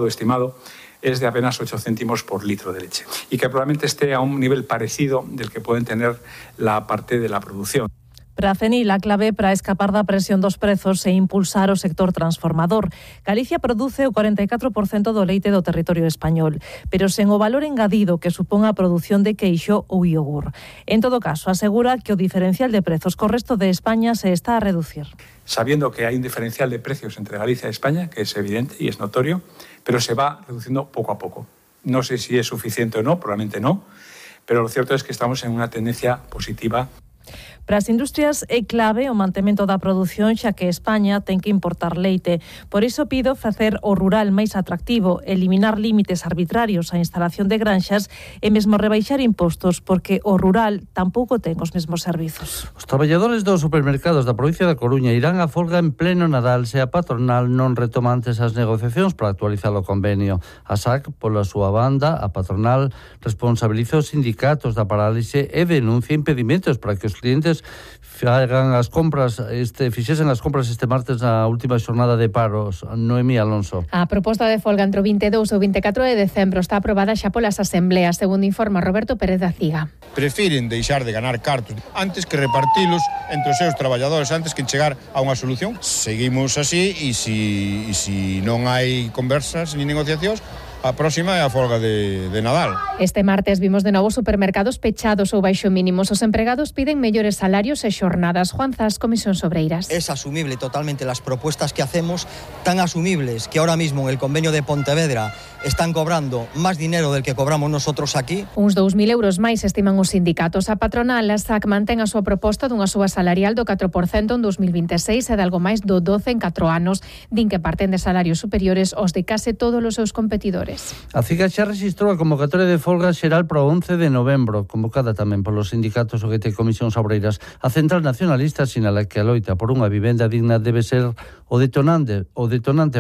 estimado es de apenas 8 céntimos por litro de leche y que probablemente esté a un nivel parecido del que pueden tener la parte de la producción. Para a CENI, a clave para escapar da presión dos prezos e impulsar o sector transformador. Galicia produce o 44% do leite do territorio español, pero sen o valor engadido que supón a produción de queixo ou iogur. En todo caso, asegura que o diferencial de prezos co resto de España se está a reducir. Sabiendo que hay un diferencial de precios entre Galicia y España, que es evidente y es notorio, pero se va reduciendo poco a poco. No sé si es suficiente o no, probablemente no, pero lo cierto es que estamos en una tendencia positiva. Para as industrias é clave o mantemento da produción, xa que España ten que importar leite. Por iso pido facer o rural máis atractivo, eliminar límites arbitrarios á instalación de granxas e mesmo rebaixar impostos, porque o rural tampouco ten os mesmos servizos. Os traballadores dos supermercados da provincia da Coruña irán a folga en pleno Nadal se a patronal non retoma antes as negociacións para actualizar o convenio. A SAC, pola súa banda, a patronal responsabiliza os sindicatos da parálise e denuncia impedimentos para que os clientes fixesen as compras este martes na última xornada de paros. Noemí Alonso. A proposta de folga entre o 22 e o 24 de decembro está aprobada xa polas asembleas, segundo informa Roberto Pérez da Ciga. Prefiren deixar de ganar cartos antes que repartilos entre os seus traballadores, antes que chegar a unha solución. Seguimos así e si non hai conversas ni negociacións, a próxima é a folga de Nadal. Este martes vimos de novo supermercados pechados ou baixo mínimos. Os empregados piden mellores salarios e xornadas. Juan Zas, Comisión Obreiras. Es asumible totalmente las propuestas que hacemos, tan asumibles que ahora mismo en el convenio de Pontevedra están cobrando más dinero del que cobramos nosotros aquí. Uns 2.000 euros máis estiman os sindicatos. A patronal, a SAC, mantén a súa proposta dunha suba salarial do 4% en 2026 e de algo máis do 12% en 4 anos. Din que parten de salarios superiores aos de case todos os seus competidores. A CIGA xa rexistrou a convocatoria de folga xeral para o 11 de novembro, convocada tamén polos sindicatos OGT e Comisións Obreiras. A Central Nacionalista sinala que a loita por unha vivenda digna debe ser o detonante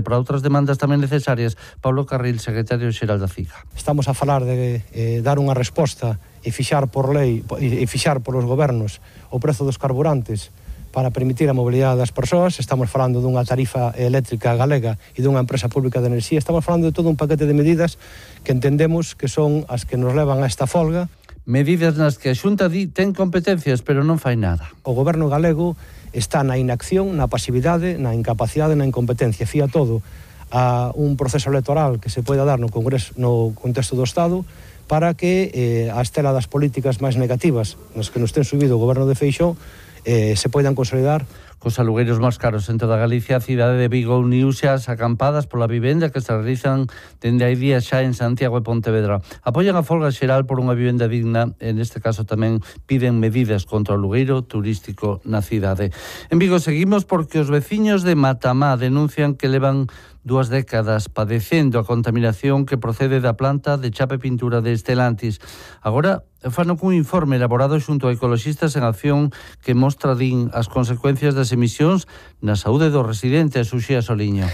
para outras demandas tamén necesarias. Pablo Carril, secretario xeral da CIGA. Estamos a falar de dar unha resposta e fixar por lei e fixar polos gobernos o prezo dos carburantes para permitir a mobilidade das persoas. Estamos falando dunha tarifa eléctrica galega e dunha empresa pública de enerxía. Estamos falando de todo un paquete de medidas que entendemos que son as que nos levan a esta folga. Medidas nas que a Xunta ten competencias, pero non fai nada. O goberno galego está na inacción, na pasividade, na incapacidade, na incompetencia. Fía todo a un proceso electoral que se poida dar no Congreso, no contexto do Estado, para que a estela das políticas máis negativas nas que nos ten subido o goberno de Feixóo se poidan consolidar. Cos alugueiros máis caros en toda Galicia, a cidade de Vigo uniuse ás acampadas pola vivenda que se realizan dende hai días xa en Santiago e Pontevedra. Apoian a folga xeral por unha vivenda digna, en este caso tamén piden medidas contra o alugueiro turístico na cidade. En Vigo seguimos porque os veciños de Matamá denuncian que levan 2 décadas padecendo a contaminación que procede da planta de chapa e pintura de Estelantis. Agora fano cun informe elaborado xunto a Ecoloxistas en Acción que mostra, din, as consecuencias das emisións na saúde dos residentes. Uxía Soliño.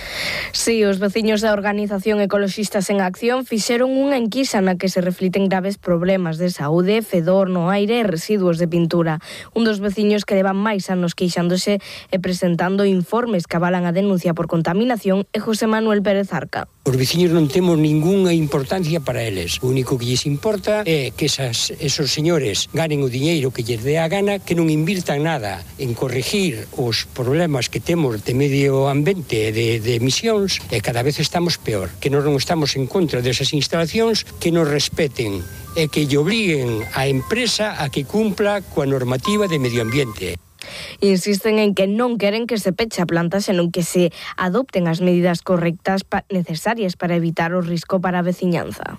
Sí, os veciños da organización Ecoloxistas en Acción fixeron unha enquisa na que se refliten graves problemas de saúde, fedor no aire e residuos de pintura. Un dos veciños que levan máis anos queixándose e presentando informes que avalan a denuncia por contaminación é José Manuel Pérez Arca. Os veciños non temos ningunha importancia para eles. O único que lles importa é que esos señores ganen o diñeiro que lles dé a gana, que non invirtan nada en corregir os problemas que temos de medio ambiente e de emisións, e cada vez estamos peor. Que non estamos en contra desas instalacións, que nos respeten e que lle obliguen a empresa a que cumpla coa normativa de medio ambiente. Insisten en que non queren que se peche a planta, senón que se adopten as medidas correctas necesarias para evitar o risco para a veciñanza.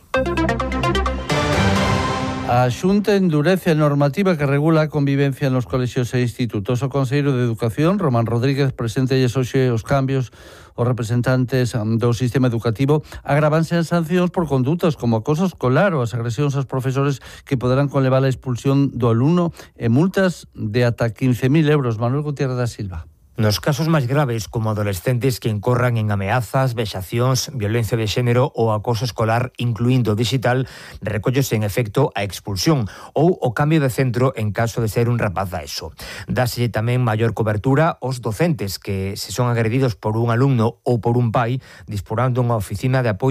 A Xunta endurece a normativa que regula a convivencia nos colexios e institutos. O Conselleiro de Educación, Román Rodríguez, presentelles hoxe os cambios os representantes do sistema educativo. Agravanse as sancións por condutas como acoso escolar ou as agresións aos profesores que poderán conlevar a expulsión do alumno e multas de ata 15.000 euros. Manuel Gutiérrez da Silva. Nos casos máis graves, como adolescentes que incorran en ameazas, vexacións, violencia de xénero ou acoso escolar, incluindo digital, recóllese en efecto a expulsión ou o cambio de centro en caso de ser un rapaz da ESO. Dáselle tamén maior cobertura aos docentes que, se son agredidos por un alumno ou por un pai, disporán dunha oficina de apoio